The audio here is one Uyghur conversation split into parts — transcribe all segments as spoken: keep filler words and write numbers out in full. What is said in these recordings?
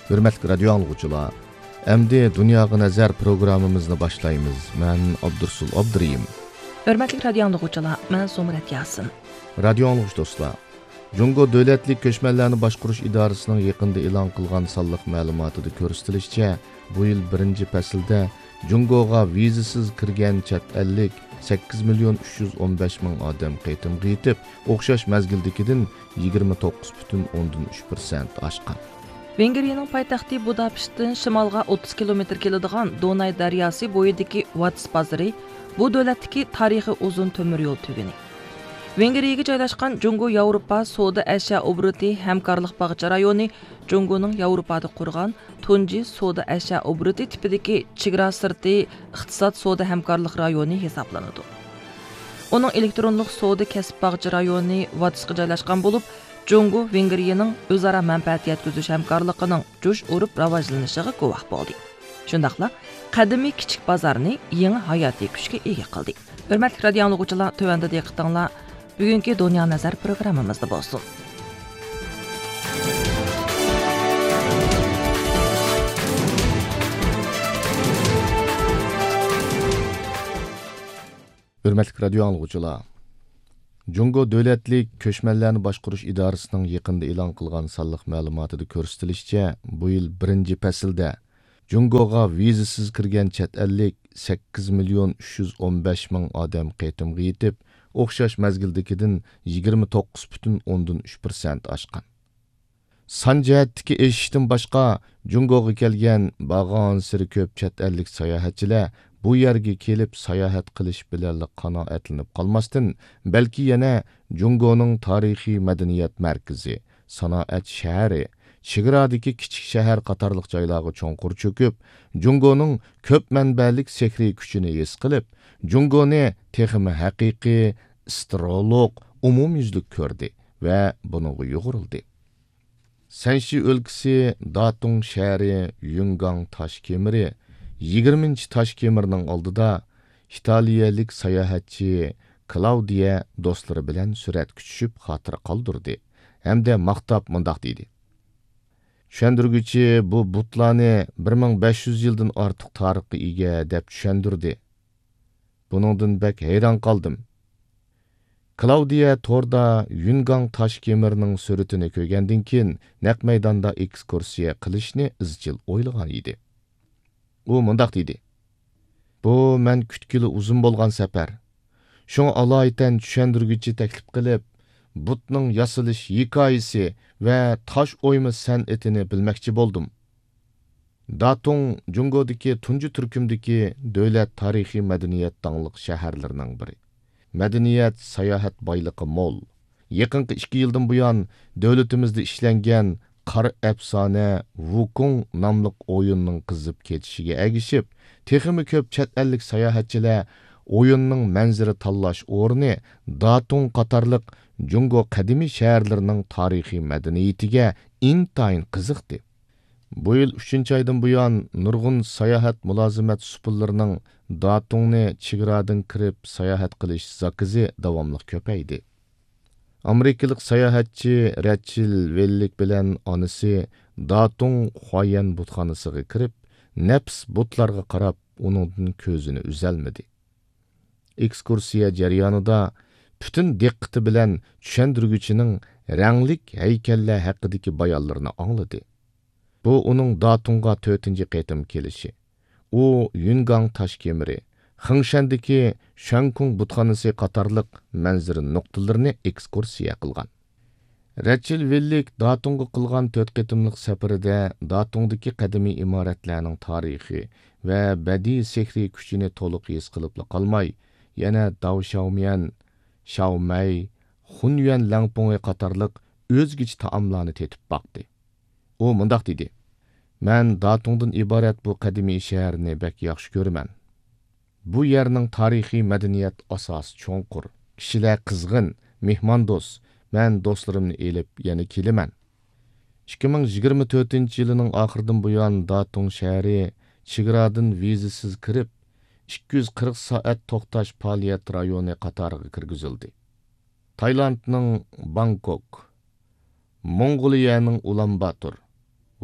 ھۆرمەتلىك رادىيو ئاڭلىغۇچىلار، ئەمدى دۇنياغا نەزەر پروگراممىمىزنى باشلايمىز. مەن ئابدۇرسۇل ئابدۇرېھىم. ھۆرمەتلىك رادىيو ئاڭلىغۇچىلار، مەن زۇمرەت ياسىن. رادىيو ئاڭلىغۇچى دوستلار، جۇڭگو دۆلەتلىك كۆچمەنلەرنى باشقۇرۇش ئىدارىسىنىڭ يېقىندا ئېلان قىلغان سانلىق مەلۇماتىدا كۆرسىتىلىشىچە، بۇ يىل بىرىنچى پەسىلدە جۇڭگوغا ۋىزىسىز كىرگەن چەت ئەللىك سەككىز مىليون ئۈچ يۈز ئون بەش مىڭ ئادەم قېتىمغا يېتىپ، ئوخشاش مەزگىلدىكىدىن يىگىرمە توققۇز پۈتۈن ئوندىن ئۈچ پىرسەنت ئاشقان. ۋېنگرىيەنىڭ پايتەختى بۇداپېشتتىن شىمالغا ئوتتۇز كىلومېتىر كېلىدىغان دوناي دەرياسى بويىدىكى ۋاتس بازىرى بۇ دۆلەتتىكى تارىخىي ئۇزۇن تۆمۈر يول تۈگۈنى. ۋېنگرىيەگە جايلاشقان جۇڭگو ياۋروپا سودا ئەشيا ئوبوروتى ھەمكارلىق باغچە رايونى جۇڭگونىڭ ياۋروپادا قۇرغان تۇنجى سودا ئەشيا ئوبوروتى تىپىدىكى چېگرا سىرتى ئىقتىساد سودا ھەمكارلىق رايونى ھېسابلىنىدۇ. ئۇنىڭ ئېلېكترونلۇق سودا كەسىپ باغچە رايونى ۋاتسقا جايلاشقان بولۇپ، جۇڭگو ۋېنگرىيەنىڭ ئۆزئارا مەنپەئەت يەتكۈزۈش ھەمكارلىقىنىڭ جۇش ئۇرۇپ راۋاجلىنىشىغا گۇۋاھ بولدى. شۇنداقلا قەدىمىي كىچىك بازارنى يېڭى ھاياتىي كۈچكە ئىگە قىلدى. ھۆرمەتلىك رادىيو ئاڭلىغۇچىلار، تۆۋەندە دىققىتىڭلار بۈگۈنكى دۇنيا نەزەر پروگراممىمىزدا بولسۇن. ھۆرمەتلىك رادىيو ئاڭلىغۇچىلار، جۇڭگو دۆلەتلىك كۆچمەنلەرنى باشقۇرۇش ئىدارىسىنىڭ يېقىندا ئېلان قىلغان سانلىق مەلۇماتىدا كۆرسىتىلىشىچە، بۇ يىل بىرىنچى پەسىلدە جۇڭگوغا ۋىزىسىز كىرگەن چەت ئەللىك سەككىز مىليون ئۈچ يۈز ئون بەش مىڭ ئادەم قېتىمغا يېتىپ، ئوخشاش مەزگىلدىكىدىن يىگىرمە توققۇز پۈتۈن ئوندىن ئۈچ پىرسەنت ئاشقان. سان جەھەتتىكى ئېشىشتىن باشقا، جۇڭگوغا كەلگەن بارغانسېرى كۆپ چەت ئەللىك ساياھەتچىلەر بۇ يەرگە كېلىپ ساياھەت قىلىش بىلەنلا قانائەتلىنىپ قالماستىن، بەلكى يەنە جۇڭگونىڭ تارىخىي مەدەنىيەت مەركىزى، سانائەت شەھىرى، چېگرادىكى كىچىك شەھەر قاتارلىق جايلارغا چوڭقۇر چۆكۈپ، جۇڭگونىڭ كۆپ مەنبەلىك سېھرىي كۈچىنى ھېس قىلىپ، جۇڭگونى تېخىمۇ ھەقىقىي، ئىسترولۇق، ئومۇميۈزلۈك كۆردى ۋە بۇنىڭغا يۇغۇرۇلدى. سەنشى ئۆلكىسى داتۇڭ شەھىرى يۈنگاڭ تاش كېمىرى يىگىرمىنچى تاش كېمىرنىڭ ئالدىدا ئىتالىيەلىك ساياھەتچى كلاۋدىيە دوستلىرى بىلەن سۈرەتكە چۈشۈپ خاتىرە قالدۇردى ھەمدە ماختاپ مۇنداق دېدى: «چۈشەندۈرگۈچى بۇ بۇتلارنى بىر مىڭ بەش يۈز يىلدىن ئارتۇق تارىخقا ئىگە دەپ چۈشەندۈردى. بۇنىڭدىن بەك ھەيران قالدىم.» كلاۋدىيە توردا يۈنگاڭ تاش كېمىرنىڭ سۈرىتىنى كۆرگەندىن كېيىن، نەق مەيداندا ئېكسكۇرسىيە قىلىشنى ئىزچىل ئويلىغان ئىدى. ئۇ مۇنداق دېدى: «بۇ مەن كۈتكىلى ئۇزۇن بولغان سەپەر. شۇڭا ئالايىتەن چۈشەندۈرگۈچى تەكلىپ قىلىپ، بۇتنىڭ ياسىلىش ھېكايىسى ۋە تاش ئويما سەنئىتىنى بىلمەكچى بولدۇم.» داتۇڭ جۇڭگودىكى تۇنجى تۈركۈمدىكى دۆلەت تارىخىي مەدەنىيەت داڭلىق شەھەرلىرىنىڭ بىرى. مەدەنىيەت، ساياھەت بايلىقى مول. يېقىنقى ئىككى يىلدىن بۇيان، دۆلىتىمىزدە ئىشلەنگەن قارا ئەپسانە ۋۇكۇڭ ناملىق ئويۇننىڭ قىزىپ كېتىشىگە ئەگىشىپ، تېخىمۇ كۆپ چەت ئەللىك ساياھەتچىلەر ئويۇننىڭ مەنزىرە تاللاش ئورنى داتۇڭ قاتارلىق جۇڭگو قەدىمىي شەھەرلىرىنىڭ تارىخىي مەدەنىيىتىگە ئىنتايىن قىزىقتى. بۇ يىل ئۈچىنچى ئايدىن بۇيان، نۇرغۇن ساياھەت مۇلازىمەت سۇپىلىرىنىڭ داتۇڭنى چېگرادىن كىرىپ ساياھەت قىلىش زاكىزى داۋاملىق كۆپەيدى. ئامېرىكىلىق ساياھەتچى رەچىل ۋېللىك بىلەن ئانىسى داتۇڭ خۇايەن بۇتخانىسىغا كىرىپ، نەپىس بۇتلارغا قاراپ، ئۇنىڭدىن كۆزىنى ئۈزەلمىدى. ئېكسكۇرسىيە جەريانىدا پۈتۈن دىققىتى بىلەن چۈشەندۈرگۈچىنىڭ رەڭلىك ھەيكەللەر ھەققىدىكى بايانلىرىنى ئاڭلىدى. بۇ ئۇنىڭ داتۇڭغا تۆتىنچى قېتىم كېلىشى. ئۇ يۈنگاڭ تاش كېمىرى، خېڭشەندىكى شەنكۇڭ بۇتخانىسى قاتارلىق مەنزىرە نۇقتىلىرىنى ئېكسكۇرسىيە قىلغان. رەچىل ۋىللىك داتۇڭغا قىلغان تۆت قېتىملىق سەپىرىدە داتۇڭدىكى قەدىمىي ئىمارەتلەرنىڭ تارىخى ۋە بەدىئىي سېھرىي كۈچىنى تولۇق ھېس قىلىپلا قالماي، يەنە داۋشياۋميەن، شاۋمەي، خۇنيۈەن لەڭپۇڭى قاتارلىق ئۆزگىچە تائاملارنى تېتىپ باقتى. ئۇ مۇنداق دېدى: «مەن داتۇڭدىن ئىبارەت بۇ قەدىمىي شەھەرنى بەك ياخشى كۆرىمەن. بۇ يەرنىڭ تارىخىي مەدەنىيەت ئاساسى چوڭقۇر، كىشىلەر قىزغىن، مېھماندوست. مەن دوستلىرىمنى ئېلىپ يەنە كېلىمەن.» ئىككى مىڭ يىگىرمە تۆتىنچى يىلىنىڭ ئاخىرىدىن بۇيان، داتۇڭ شەھىرى چېگرادىن ۋىزىسىز كىرىپ، ئىككى يۈز قىرىق سائەت توختاش پائالىيەت رايونى قاتارىغا كىرگۈزۈلدى. تايلاندنىڭ بانكوك، موڭغۇلىيەنىڭ ئۇلانباتور،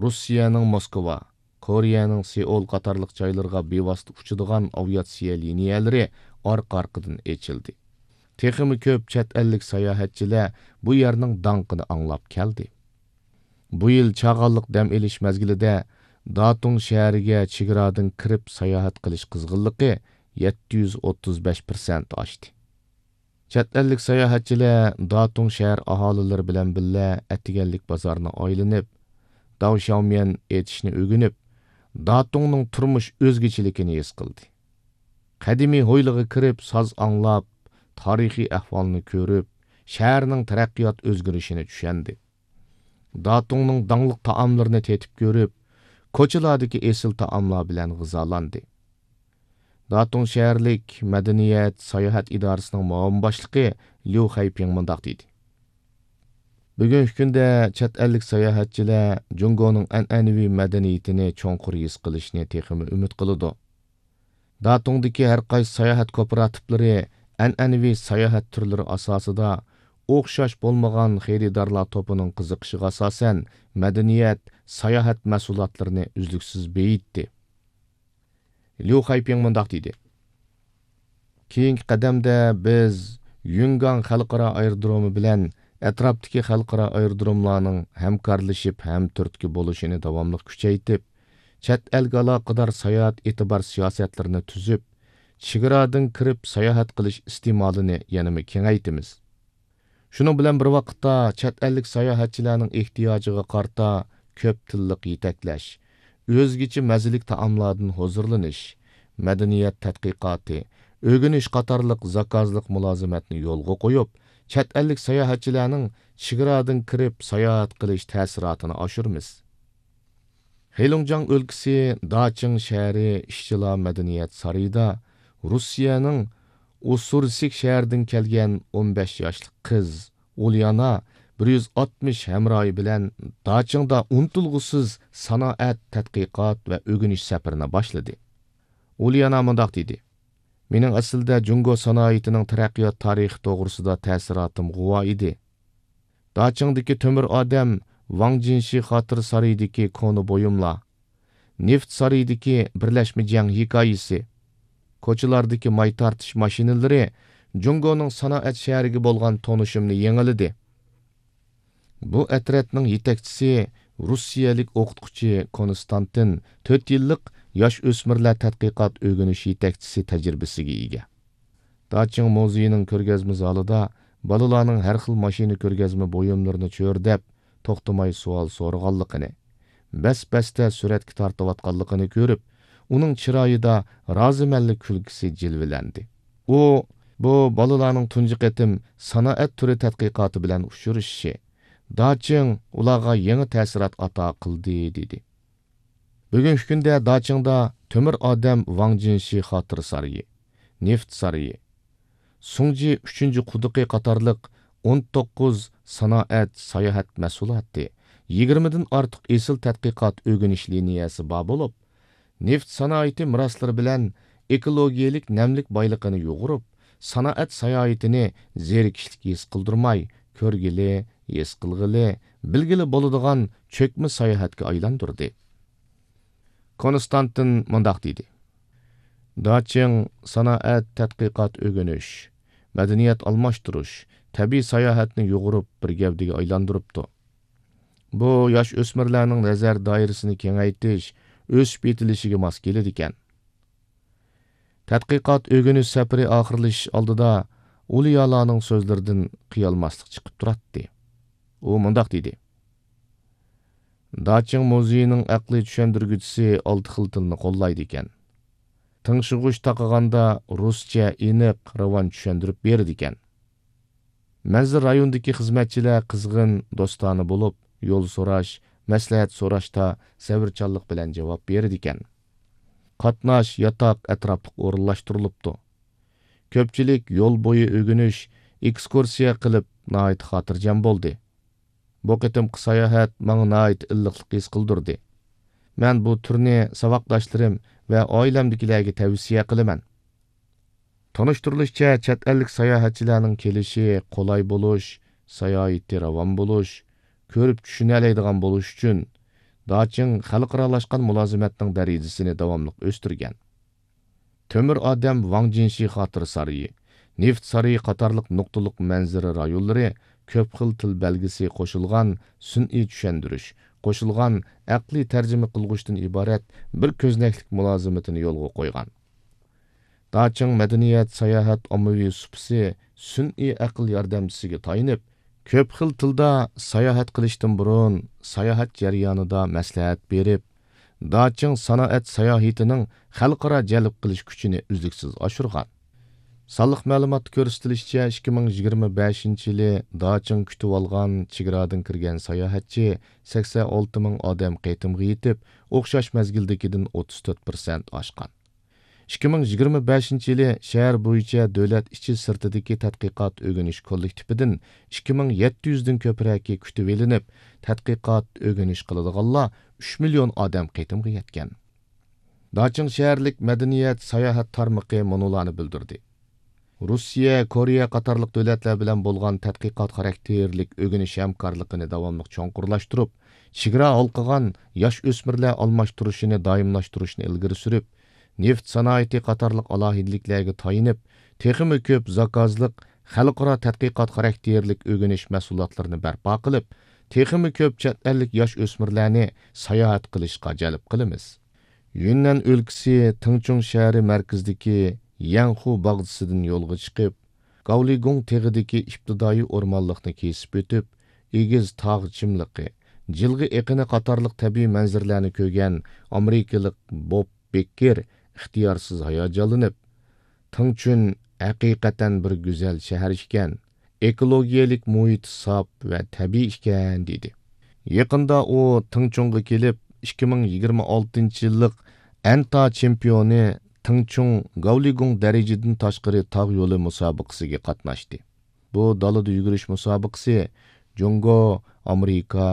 روسىيەنىڭ موسكۋا، كورېيەنىڭ سېئۇل قاتارلىق جايلىرىغا بىۋاسىتە ئۇچىدىغان ئاۋىئاتسىيە لىنىيەلىرى ئارقا-ئارقىدىن ئېچىلدى. تېخىمۇ كۆپ چەت ئەللىك ساياھەتچىلەر بۇ يەرنىڭ داڭقىنى ئاڭلاپ كەلدى. بۇ يىل چاغانلىق دەم ئېلىش مەزگىلىدە داتۇڭ شەھىرىگە چېگرادىن كىرىپ ساياھەت قىلىش قىزغىنلىقى يەتتە يۈز ئوتتۇز بەش پىرسەنت ئاشتى. چەت ئەللىك ساياھەتچىلەر داتۇڭ شەھەر ئاھالىلىرى بىلەن بىللە ئەتىگەنلىك بازارنى ئايلىنىپ، داۋ شياۋميەن ئېتىشنى ئۆگىنىپ، داتۇڭنىڭ تۇرمۇش ئۆزگىچىلىكىنى ھېس قىلدى. قەدىمىي ھويلىغا كىرىپ ساز ئاڭلاپ، تارىخىي ئەھۋالنى كۆرۈپ، شەھەرنىڭ تەرەققىيات ئۆزگىرىشىنى چۈشەندى. داتۇڭنىڭ داڭلىق تائاملىرىنى تېتىپ كۆرۈپ، كوچىلاردىكى ئېسىل تائاملار بىلەن غىزالاندى. داتۇڭ شەھەرلىك مەدەنىيەت، ساياھەت ئىدارىسىنىڭ مۇئاۋىن باشلىقى ليۇ خەيپىڭ مۇنداق دېدى: بۈگۈنكى كۈندە چەت ئەللىك ساياھەتچىلەر جۇڭگونىڭ ئەنئەنىۋى مەدەنىيىتىنى چوڭقۇر ھېس قىلىشنى تېخىمۇ ئۈمىد قىلىدۇ. داتۇڭدىكى ھەر قايسى ساياھەت كوپىراتىپلىرى ئەنئەنىۋى ساياھەت تۈرلىرى ئاساسىدا ئوخشاش بولمىغان خېرىدارلار توپىنىڭ قىزىقىشىغا ئاساسەن مەدەنىيەت، ساياھەت مەھسۇلاتلىرىنى ئۈزلۈكسىز بېيىتتى. ليۇ خەيپىڭ مۇنداق دېدى: كېيىنكى قەدەمدە بىز يۈنگاڭ خەلقئارا ئايرودرومى بىلەن ئەتراپتىكى خەلقئارا ئايرودروملارنىڭ ھەمكارلىشىپ ھەم تۈرتكە بولۇشىنى داۋاملىق كۈچەيتىپ، چەت ئەلگە ئالاقىدار ساياھەت ئېتىبار سىياسەتلىرىنى تۈزۈپ، چېگرادىن كىرىپ ساياھەت قىلىش ئىستېمالىنى يەنىمۇ كېڭەيتىمىز. شۇنىڭ بىلەن بىر ۋاقىتتا، چەت ئەللىك ساياھەتچىلەرنىڭ ئېھتىياجىغا قارىتا كۆپ تىللىق يېتەكلەش، ئۆزگىچە مەززىلىك تائاملاردىن ھۇزۇرلىنىش، مەدەنىيەت تەتقىقاتى، ئۆگىنىش قاتارلىق زاكازلىق مۇلازىمەتنى يولغا قويۇپ، چەت ئەللىك ساياھەتچىلەرنىڭ چېگرادىن كىرىپ ساياھەت قىلىش تەسىراتىنى ئاشۇرىمىز. خېلۇڭجياڭ ئۆلكىسى داچىڭ شەھىرى ئىشچىلار مەدەنىيەت سارىيىدا روسىيەنىڭ ئۇسسۇرسك شەھىرىدىن كەلگەن ئون بەش ياشلىق قىز ئۇليانا بىر يۈز ئاتمىش ھەمراھى بىلەن داچىڭدا ئۇنتۇلغۇسىز سانائەت، تەتقىقات ۋە ئۆگىنىش سەپىرىنى باشلىدى. ئۇليانا مۇنداق دېدى: مېنىڭ ئەسلىدە جۇڭگو سانائىتىنىڭ تەرەققىيات تارىخى توغرىسىدا تەسىراتىم غۇۋا ئىدى. داچىڭدىكى تۆمۈر ئادەم ۋاڭ جىنشى خاتىرە سارىيىدىكى كونا بۇيۇملار، نېفىت سارىيىدىكى بىرلەشمە جەڭ ھېكايىسى، كوچىلاردىكى ماي تارتىش ماشىنىلىرى جۇڭگونىڭ سانائەت شەھىرىگە بولغان تونۇشۇمنى يېڭىلىدى. بۇ ئەترەتنىڭ يېتەكچىسى روسىيەلىك ئوقۇتقۇچى كونستانتىن، تۆت يىللىق ياش ئۆسمۈرلەر تەتقىقات ئۆگىنىش يېتەكچىسى تەجرىبىسىگە ئىگە. داچىڭ مۇزېيىنىڭ كۆرگەزمە زالىدا بالىلارنىڭ ھەر خىل ماشىنا كۆرگەزمە بۇيۇملىرىنى چۆرىدەپ، توختىماي سوئال سورىغانلىقىنى، بەس-بەستە سۈرەتكە تارتىۋاتقانلىقىنى كۆرۈپ، ئۇنىڭ چىرايىدا رازىمەنلىك كۈلكىسى جىلۋىلەندى. ئۇ بۇ بالىلارنىڭ تۇنجى قېتىم سانائەت تۈرى تەتقىقاتى بىلەن ئۇچرىشىشى، داچىڭ ئۇلارغا يېڭى تەسىرات ئاتا قىلدى، دېدى. بۈگۈنكى كۈندە داچىڭدا تۆمۈر ئادەم ۋاڭ جىنشى خاتىرە سارىيى، نېفىت سارىيى، سۇڭجى ئۈچىنچى قۇدۇقى قاتارلىق ئون توققۇز سانائەت، ساياھەت مەھسۇلاتى، يىگىرمىدىن ئارتۇق ئېسىل تەتقىقات ئۆگىنىش لىنىيەسى بار بولۇپ، نېفىت سانائىتى مىراسلىرى بىلەن ئېكولوگىيەلىك نەملىك بايلىقىنى يۇغۇرۇپ، سانائەت ساياھىتىنى زېرىكىشلىك ھېس قىلدۇرماي، كۆرگىلى، ھېس قىلغىلى، بىلگىلى بولىدىغان چۆكمە ساياھەتكە ئايلاندۇردى. كونستانتىن مۇنداق دېدى: داچىڭ سانائەت، تەتقىقات، ئۆگىنىش، مەدەنىيەت ئالماشتۇرۇش، تەبىئىي ساياھەتنى يۇغۇرۇپ بىر گەۋدىگە ئايلاندۇرۇپتۇ. بۇ ياش ئۆسمۈرلەرنىڭ نەزەر دائىرىسىنى كېڭەيتىش، ئۆسۈپ يېتىلىشىگە ماس كېلىدىكەن. تەتقىقات ئۆگىنىش سەپىرى ئاخىرلىشىش ئالدىدا ئۇليالانىڭ سۆزلىرىدىن قىيالماسلىق چىقىپ تۇراتتى. ئۇ مۇنداق دېدى: داچىڭ مۇزېيىنىڭ ئەقلىي چۈشەندۈرگۈچىسى ئالتە خىل تىلنى قوللايدىكەن. تىڭشىغۇچ تاقىغاندا رۇسچە ئېنىق، راۋان چۈشەندۈرۈپ بېرىدىكەن. مەنزىرە رايونىدىكى خىزمەتچىلەر قىزغىن، دوستانە بولۇپ، يول سوراش، مەسلىھەت سوراشتا سەۋرچانلىق بىلەن جاۋاب بېرىدىكەن. قاتناش، ياتاق ئەتراپلىق ئورۇنلاشتۇرۇلۇپتۇ. كۆپچىلىك يول بويى ئۆگىنىش، ئېكسكۇرسىيە قىلىپ، ناھايىتى خاتىرجەم بولدى. بۇ قېتىمقى ساياھەت ماڭا ناھايىتى ئىللىقلىق ھېس قىلدۇردى. مەن بۇ تۈرنى ساۋاقداشلىرىم ۋە ئائىلەمدىكىلەرگە تەۋسىيە قىلىمەن. تونۇشتۇرۇلۇشىچە، چەت ئەللىك ساياھەتچىلەرنىڭ كېلىشى، قولاي بولۇش، ساياھىتى راۋان بولۇش، كۆرۈپ چۈشىنەلەيدىغان بولۇش ئۈچۈن داچىڭ خەلقئارالاشقان مۇلازىمەتنىڭ دەرىجىسىنى داۋاملىق ئۆستۈرگەن. تۆمۈر ئادەم ۋاڭ جىنشى خاتىرە سارىيى، نېفىت سارىيى قاتارلىق نۇقتىلىق مەنزىرە رايونلىرى كۆپ خىل تىل بەلگىسى قوشۇلغان سۈنئىي چۈشەندۈرۈش، قوشۇلغان ئەقلىي تەرجىمە قىلغۇچتىن ئىبارەت بىر كۆزنەكلىك مۇلازىمىتىنى يولغا قويغان. داچىڭ مەدەنىيەت، ساياھەت، ئاممىۋى سۇپىسى سۈنئىي ئەقىل ياردەمچىسىگە تايىنىپ، كۆپ خىل تىلدا ساياھەت قىلىشتىن بۇرۇن، ساياھەت جەريانىدا مەسلىھەت بېرىپ، داچىڭ سانائەت ساياھىتىنىڭ خەلقئارا جەلپ قىلىش كۈچىنى ئۈزلۈكسىز ئاشۇرغان. سانلىق مەلۇماتتا كۆرسىتىلىشىچە، ئىككى مىڭ يىگىرمە بەشىنچى يىلى داچىڭ كۈتۈۋالغان چېگرادىن كىرگەن ساياھەتچى سەكسەن ئالتە مىڭ ئادەم قېتىمغا يېتىپ، ئوخشاش مەزگىلدىكىدىن ئوتتۇز تۆت پىرسەنت ئاشقان. ئىككى مىڭ يىگىرمە بەشىنچى يىلى شەھەر بويىچە دۆلەت ئىچى سىرتىدىكى تەتقىقات ئۆگىنىش كوللېكتىپىدىن ئىككى مىڭ يەتتە يۈزدىن كۆپرەكى كۈتۈۋېلىنىپ، تەتقىقات ئۆگىنىش قىلىدىغانلار ئۈچ مىليون ئادەم قېتىمغا يەتكەن. داچىڭ شەھەرلىك مەدەنىيەت ساياھەت تارمىقى مۇنۇلارنى بىلدۈردى. روسىيە، كورېيە قاتارلىق دۆلەتلەر بىلەن بولغان تەتقىقات خاراكتېرلىك ئۆگىنىش ھەمكارلىقىنى داۋاملىق چوڭقۇرلاشتۇرۇپ، چېگرا ھالقىغان ياش ئۆسمۈرلەر ئالماشتۇرۇشىنى دائىملاشتۇرۇشنى ئىلگىرى سۈرۈپ، نېفىت سانائىتى قاتارلىق ئالاھىدىلىكلەرگە تايىنىپ، تېخىمۇ كۆپ زاكازلىق خەلقئارا تەتقىقات خاراكتېرلىك ئۆگىنىش مەھسۇلاتلىرىنى بەرپا قىلىپ، تېخىمۇ كۆپ چەت ئەللىك ياش ئۆسمۈرلەرنى ساياھەت قىلىشقا جەلپ قىلىمىز. يۈننەن ئۆلكىسى تىڭچۇڭ شەھىرى مەركىزىدىكى يەنخۇ باغچىسىدىن يولغا چىقىپ، گاۋلىگۇڭ تېغىدىكى ئىپتىدائىي ئورمانلىقنى كېسىپ ئۆتۈپ، ئېگىز تاغ چىملىقى، جىلغا ئېقىنى قاتارلىق تەبىئىي مەنزىرىلەرنى كۆرگەن ئامېرىكىلىق بوب بېككېر ئىختىيارسىز ھاياجانلىنىپ، تىڭچۈن ھەقىقەتەن بىر گۈزەل شەھەر ئىكەن، ئېكولوگىيەلىك مۇھىتى ساپ ۋە تەبىئىي ئىكەن، دېدى. يېقىندا ئۇ تىڭچۇڭغا كېلىپ، ئىككى مىڭ يىگىرمە ئالتىنچى يىللىق ئەنتا چېمپىيونى تىڭچۇڭ گاۋلىگۇڭ دەرىجىدىن تاشقىرى تاغ يولى مۇسابىقىسىگە قاتناشتى. بۇ دالىدا يۈگۈرۈش مۇسابىقىسى جۇڭگو، ئامېرىكا،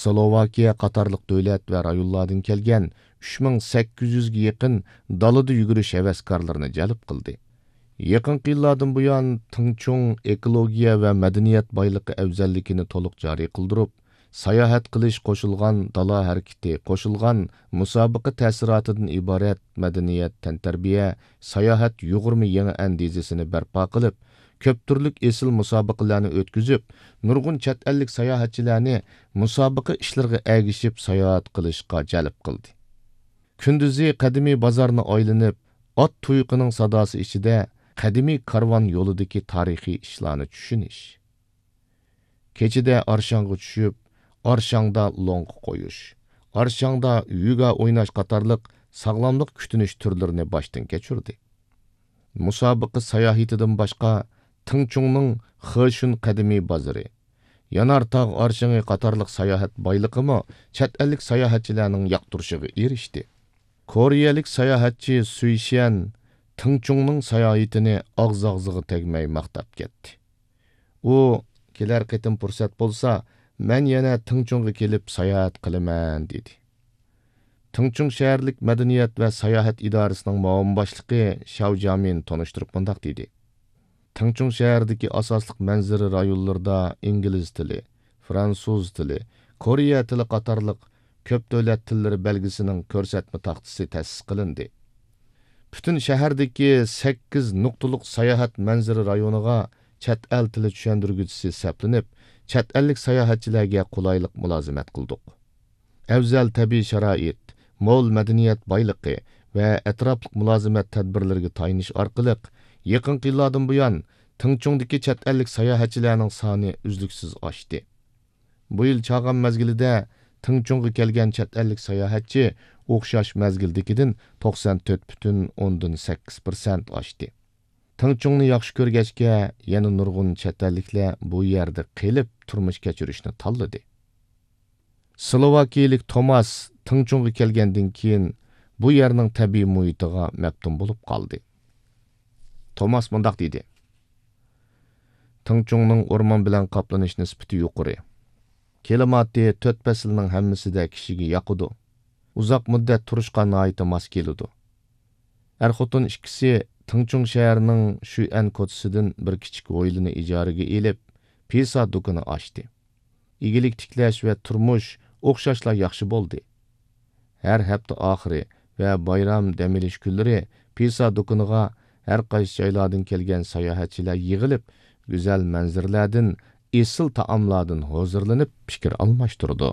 سلوۋاكىيە قاتارلىق دۆلەت ۋە رايونلاردىن كەلگەن ئۈچ مىڭ سەككىز يۈزگە يېقىن دالىدا يۈگۈرۈش ھەۋەسكارلىرىنى جەلپ قىلدى. يېقىنقى يىللاردىن بۇيان، تىڭچۇڭ ئېكولوگىيە ۋە مەدەنىيەت بايلىقى ئەۋزەللىكىنى تولۇق جارى قىلدۇرۇپ، ساياھەت قىلىش قوشۇلغان دالا ھەرىكىتى قوشۇلغان مۇسابىقە تەسىراتىدىن ئىبارەت مەدەنىيەت، تەنتەربىيە، ساياھەت يۇغۇرما يېڭى ئەندىزىسىنى بەرپا قىلىپ، كۆپ تۈرلۈك ئېسىل مۇسابىقىلەرنى ئۆتكۈزۈپ، نۇرغۇن چەت ئەللىك ساياھەتچىلەرنى مۇسابىقە ئىشلىرىغا ئەگىشىپ ساياھەت قىلىشقا جەلپ قىلدى. كۈندۈزى قەدىمىي بازارنى ئايلىنىپ، ئات تۇيىقىنىڭ ساداسى ئىچىدە قەدىمىي كارۋان يولىدىكى تارىخىي ئىشلارنى چۈشىنىش. كېچىدە ئارشاڭغا چۈشۈپ، ئارشاڭدا لوڭقا قويۇش، ئارشاڭدا يوگا ئويناش قاتارلىق ساغلاملىق كۈتۈنۈش تۈرلىرىنى باشتىن كەچۈردى. مۇسابىقە ساياھىتىدىن باشقا، تىڭچۇڭنىڭ خېشۈن قەدىمىي بازىرى، يانار تاغ ئارشىڭى قاتارلىق ساياھەت بايلىقىمۇ چەت ئەللىك ساياھەتچىلەرنىڭ ياقتۇرۇشىغا ئېرىشتى. كورېيەلىك ساياھەتچى سۈي شيەن تىڭچۇڭنىڭ ساياھىتىنى ئاغزى-ئاغزىغا تەگمەي ماختاپ كەتتى. ئۇ، «كېلەر قېتىم پۇرسەت بولسا، مەن يەنە تىڭچۇڭغا كېلىپ ساياھەت قىلىمەن» دېدى. تىڭچۇڭ شەھەرلىك مەدەنىيەت ۋە ساياھەت ئىدارىسىنىڭ مۇئاۋىن باشلىقى شاۋ جيامىن تونۇشتۇرۇپ مۇنداق دېدى: «تىڭچۇڭ شەھىرىدىكى ئاساسلىق مەنزىرە رايونلىرىدا ئىنگلىز تىلى، فرانسۇز تىلى، كورېيە تىلى قاتارلىق كۆپ دۆلەت تىللىرى بەلگىسىنىڭ كۆرسەتمە تاختىسى تەسىس قىلىندى. پۈتۈن شەھەردىكى سەككىز نۇقتىلىق ساياھەت مەنزىرە رايونىغا چەت ئەل تىلى چۈشەندۈرگۈچىسى سەپلىنىپ، چەت ئەللىك ساياھەتچىلەرگە قولايلىق مۇلازىمەت قىلدۇق. ئەۋزەل تەبىئىي شارائىت، مول مەدەنىيەت بايلىقى ۋە ئەتراپلىق مۇلازىمەت تەدبىرلىرىگە تايىنىش ئارقىلىق، يېقىنقى يىللاردىن بۇيان تىڭچۇڭدىكى چەت ئەللىك ساياھەتچىلەرنىڭ سانى ئۈزلۈكسىز ئاشتى. بۇ يىل چاغان مەزگىلىدە تىڭچۇڭغا كەلگەن چەت ئەللىك ساياھەتچى ئوخشاش مەزگىلدىكىدىن توقسان تۆت پۈتۈن ئوندىن سەككىز پىرسەنت ئاشتى. تىڭچۇڭنى ياخشى كۆرگەچكە، يەنە نۇرغۇن چەت ئەللىكلەر بۇ يەردە قېلىپ تۇرمۇش كەچۈرۈشنى تاللىدى. سلوۋاكىيىلىك توماس تىڭچۇڭغا كەلگەندىن كېيىن، بۇ يەرنىڭ تەبىئىي مۇھىتىغا مەپتۇن بولۇپ قالدى. توماس مۇنداق دېدى: «تىڭچۇڭنىڭ ئورمان بىلەن قاپلىنىش نىسبىتى يۇقىرى. كىلىماتى تۆت پەسىلنىڭ ھەممىسىدە كىشىگە ياقىدۇ. ئۇزاق مۇددەت تۇرۇشقا ناھايىتى ماس كېلىدۇ.» ئەر-خوتۇن ئىككىسى تىڭچۇڭ شەھىرىنىڭ شۈئەن كوچىسىدىن بىر كىچىك ھويلىنى ئىجارىگە ئېلىپ، پىسا دۇكىنى ئاچتى. ئىگىلىك تىكلەش ۋە تۇرمۇش ئوخشاشلا ياخشى بولدى. ھەر ھەپتە ئاخىرى ۋە بايرام دەم ئېلىش كۈنلىرى پىسا دۇكىنىغا ھەر قايسى جايلاردىن كەلگەن ساياھەتچىلەر يىغىلىپ، گۈزەل مەنزىرىلەردىن، ئېسىل تائاملاردىن ھۇزۇرلىنىپ پىكىر ئالماشتۇرىدۇ.